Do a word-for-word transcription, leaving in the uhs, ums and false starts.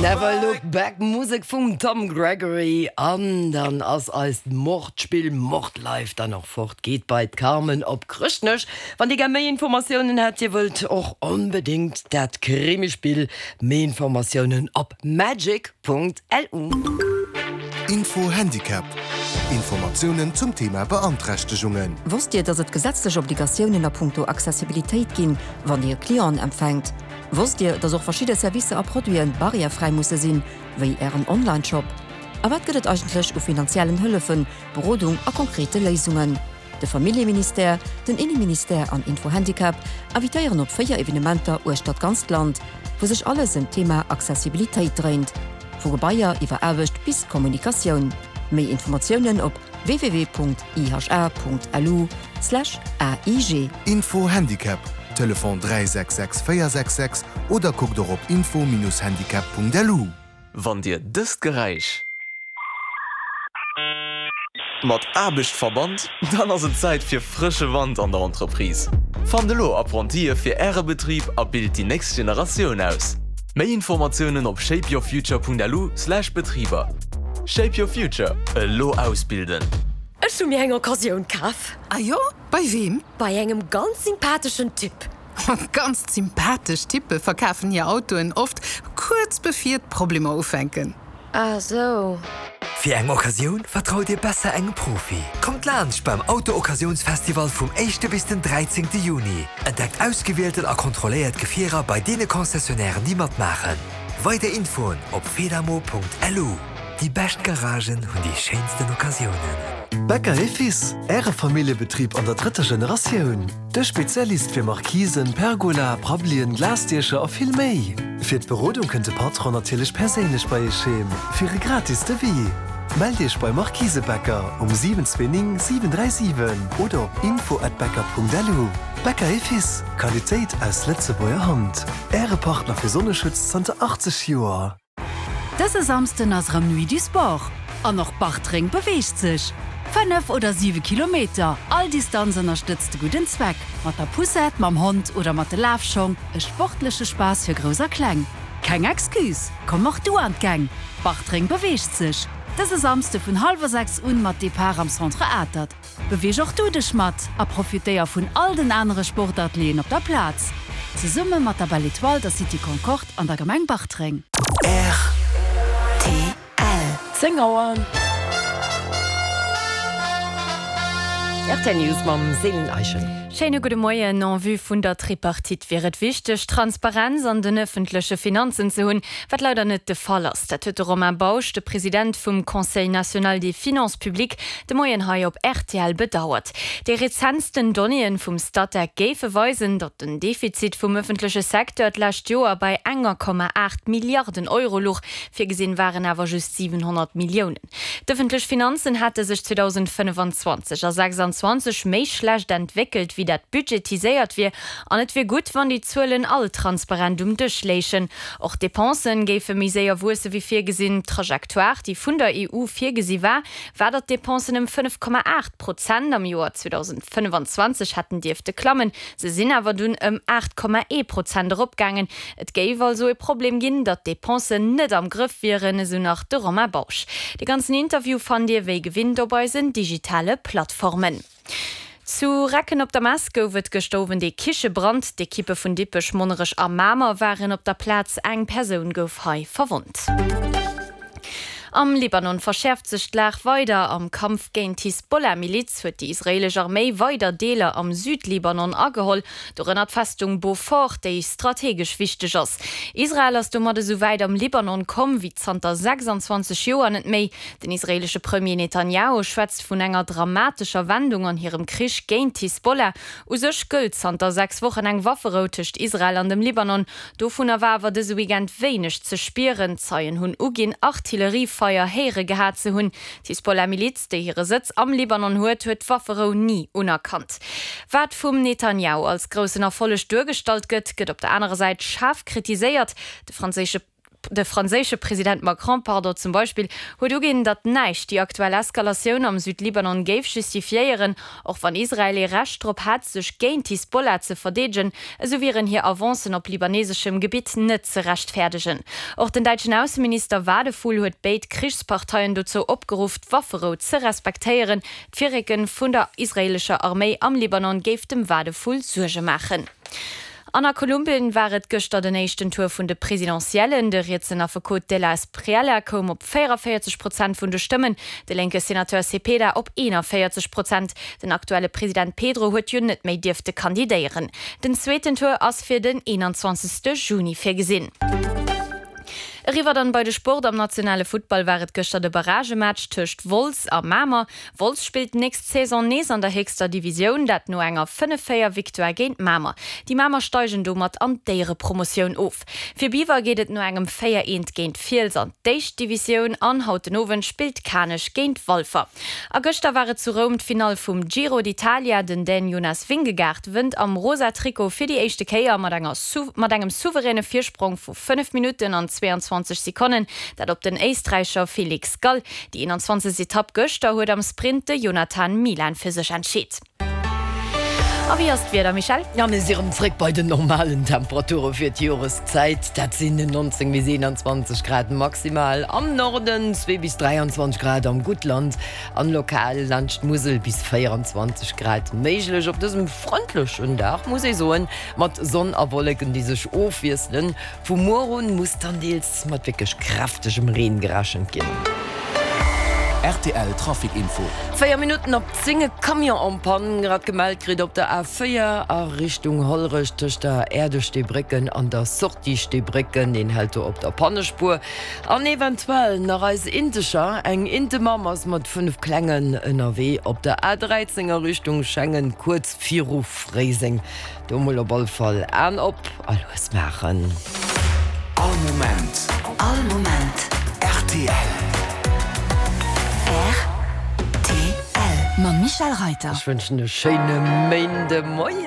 Never Look Back, Musek vum Tom Gregory. An dann ass eist Mordspill Mordlife dann och fort, geet bei d'Carmen op Chrëschtnech. Wann Dir gär méi Informatiounen hätt, Dir wëllt och onbedéngt dat Krimispill, méi Informatiounen op magic Punkt L U. Info Handicap. Informatiounen zum Thema Beanträchtegungen. Wosst Dir, dass et gesetzlech Obligatiounen a punkto Accessibilitéit ginn, wann Dir Clienten empfänkt? Wosst Dir, dass och verschidde Servicer a Produiten barrièrefräi musse sinn, wéi Ären Online-Shop? A wat gëtt et eigentlech u finanziellen Hëllefen, Berodung a konkrete Léisungen? De Familljeministère, den Inneministère an Info Handicap invitéieren op véier Evenementer uechter d'ganzt Land, wou sech alles ëm d'Thema Accessibilitéit dréint. Vu Gebaier iwwer Aarbecht bis Kommunikatioun. Méi Informatiounen op W W W Punkt I H A Punkt L U Slash A I G. Info Handicap, Telefon dräi sechs sechs véier sechs sechs oder kuckt och op info Bindestrich handicap Punkt L U. Wann Dir dëst Geräisch mat Aarbecht verbannt, dann ass et Zäit fir frësche Wand an der Entreprise. Fannt elo Apprentie fir Äre Betrib a bilt déi nächst Generatioun aus. Méi Informatiounen op shapeyourfuture Punkt L U Slash Betriber. Shape Your Future, elo ausbilden. Ech hu mir eng Occasioun kaf. Ah jo, bei wem? Bei engem ganz sympatheschen Typ. Ganz sympathesch Typpe verkafen hir Autoen oft kuerz bevir d'Problemer ufänken. Ah sou. Fir eng Occasioun vertraut Dir besser engem Profi. Kommt laanscht beim Auto-Occasiounsfestival vum éischte bis den dräizéngte Juni. Entdeckt ausgewielten a kontrolléiert Gefierer bei deene Concessionnairen, déi matmaachen. Weider Infoen op fedamo Punkt L U. Déi bescht Garagen hunn déi schéinsten Occasiounen. Becker et Fils, Äre Familljebetrib an der drëtter Generatioun. De Spezialist fir Markisen, Pergola, Prabbelien, Glasdiecher a vill méi. Fir d'Berodung kënnt de Patron natierlech perséinlech bei Iech heem, fir e gratis Devis. Mellt Iech bei Markise Becker um siwen zwee néng siwen dräi siwen oder op info at becker Punkt L U. Becker et Fils, Qualitéit aus Lëtzebuerger Hand. Äre Partner fir Sonneschutz zanter achtzeg Joer. Dëse Samsden ass rëm Nuit du Sport. An och Bartreng beweegt sech. Fënnef oder siwe Kilometer, all Distanz ënnerstëtzt de gudden Zweck. Mat der Poussette, mam Hond oder mat de Lafschong, e sportleche Spaass fir Grouss a Kleng. Keng Excuse, komm och du an d'Gäng. Bartreng beweegt sech. Dëse Samsde vun hallwer sechs un mat Depart am Centre Atert. Beweeg och du dech mat a profitéier vun all den anere Sportatelieren op der Plaz. Zesumme mat der Belle Etoile, der City Concorde an der Gemeng Bartreng. R T L. zéng Auer. R T L News mam Céline Eischen. Schéine gudde Moien. En vue vun der Tripartite wier et wichteg, Transparenz an den ëffentleche Finanzen ze hunn, wat leider net de Fall ass. Dat huet de Romain Bausch, de President vum Conseil national des finances publiques, de Moien hei op R T L bedauert. Déi rezentsten Donnéeën vum Statec géife weisen, datt den Defizit vum ëffentleche Secteur d'lescht Joer bei enger Komma aacht Milliarden Euro louch, virgesinn waren awer just siwenhonnert Milliounen. D'ëffentlech Finanzen hätte sech zweedausendfënnefenzwanzeg a sechsanzwanzeg méi schlecht entwéckelt, wéi dat budgetiséiert wier, an et wier gutt, wann déi Zuelen all transparent um Dësch léichen. Och d'Depensen géife méi séier wuesse wéi virgesinn. D'Trajectoire, déi vun der E U virgesi war, war datt d'Depensen ëm fënnef Komma aacht Prozent am Joer zweedausendfënnefenzwanzeg hätten dierfte klammen. Se sinn awer dunn ëm aacht Komma ee Prozent eropgaangen. Et géif also e Problem ginn, datt d'Depensen net am Grëff wieren, esou nach de Romain Bausch. De ganzen Interview fannt Dir wéi gewinnt op eisen digitale Plattformen. Zu Recken op der Mess gouf et gëschter Owend ee Kichebrand. D'Ekippe vun Dippech, Monnerech a Mamer waren op der Plaz. Eng Persoun gouf hei verwonnt. Am Libanon verschäerft sech d'Lag weider. Am Kampf géint d'Hisbollah-Miliz huet déi israeelesch Arméi weider Deeler am Südlibanon ageholl, dorënner d'Festung Beaufort, déi strategesch wichteg ass. Israel ass domat esou wäit am Libanon komm wéi zanter sechsanzwanzeg Joer net méi. Den israeelesche Premier Netanjahu schwätzt vun enger dramatescher Wendung an hirem Krich géint d'Hisbollah. U sech gëllt zanter sechs Wochen eng Wafferou tëscht Israel an dem Libanon. Dovunner war awer dëse Weekend wéineg ze spieren. Zeien hunn uginn, Artilleriefeier héiere gehat ze hunn. D'Hisbollah-Miliz, déi hire Sëtz am Libanon huet, huet d'Wafferou ni unerkannt. Wat vum Netanjahu als groussen Erfolleg duergestallt gëtt, gëtt op der anerer Säit schaarf kritiséiert. De franséische De franséische President Macron, pardon, zum Beispill huet uginn, datt näischt déi aktuell Eskalatioun am Südlibanon géif justifiéieren. Och wann Israel ee Recht drop hätt, sech géint d'Hisbollah ze verdeedegen, esou wieren hir Avancen op libaneseschem Gebitt net ze rechtfäerdegen. Och den däitschen Ausseminister Wadephul huet béid Krichsparteien dozou opgeruff, d'Wafferou ze respektéieren. D'Virrécke vun der israeelescher Arméi am Libanon géif dem Wadephul Suerge maachen. An a Kolumbien war et gëschter den éischten Tour vun de Presidentiellen. De rietsen Affekot De la Espriella koum op véierunvéierzeg Prozent vun de Stëmmen, de lénke Senateur Cepeda op eenanvéierzeg Prozent. Den aktuelle President Pedro huet jo net méi dierfte kandidéieren. Den zweeten Tour ass fir den eenanzwanzegste Juni virgesinn. Eriwwer dann bei de Sport, Am nationale Futtball war et gëschter de Barragematch tëscht Wolz a Mamer. Wolz spillt d'nächst Saison nees an der héchster Divisioun, dat no enger fënnef véier Victoire géint Mamer. Déi Mamer steigen domat an d'Éierepromotioun of. Fir Biwer geet et no engem véier eent géint Fiels an d'éischt Divisioun an haut den Owend spillt Kanech géint Walfer. A gëschter war et zu Roum d'Finall vum Giro d'Italia. Den Dän Jonas Vingegaard wënnt am rosa Trikot fir déi éischte Kéier mat enger mat engem souveräne Virsprong vu fënnef Minutten an zweiundzwanzeg Sekonnen, dat op den Éisträicher Felix Gall. Déi eenanzwanzegst Etapp gëschter huet am Sprint de Jonathan Milan fir sech entscheet. A wéi ass d'Wieder, Michèle? Ja, mir si rëm zréck bei den normalen Temperature fir d'Joreszäit. Dat sinn neunzéng bis eenanzwanzeg Grad maximal am Norden, zwee bis dräianzwanzeg Grad am Guttland an lokal laanscht d'Musel bis véieranzwanzeg Grad méiglech. Op dësem frëndlechen Dag, muss ee soen, mat Sonn a Wolleken, déi sech ofwiesselen. Vu muer un muss dann deels mat wierklech kräftegem Reen gerechent ginn. Rtl Trafic Info. Véier Minutten op zéng, e Camion en panne grad gemellt kritt op der A véier a Richtung Hollerech tëscht der Aire de Steebrécken an der Sortie Steebrécken. Deen hält do op der Pannespuer. An eventuell nach eis Intecher, eng Intemamm ass mat fënnef Klengen ënnerwee op der A dräizéng a Richtung Schengen kuerz viru Fréiseng. Do mol op all Fall Aen op a lues maachen. All Moment. All Moment. Rtl. Rtl. Mam Michèle Reiter. Ech wënschen e schéine Méindemoien.